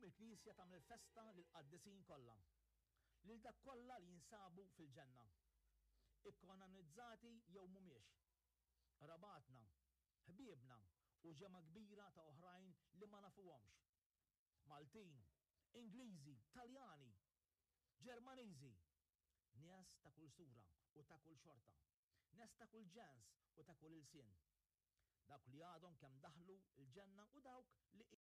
Illum il-Knisja tagħmel festa lill-qaddisin kollha, lil dak kollha li jinsabu fil-ġenna, ikkanonizzati jew mhumiex, qrabatna, ħbiebna u ġemgħa kbira ta' oħrajn li ma nafuhomx, Maltin, Ingliżi, Taljani, Ġermaniżi, nies ta' kull sura u ta' kull xorta, nies ta' kull ġens u ta' kull ilsien. Dawk li għadhom kemm daħlu l-ġenna u dawk li.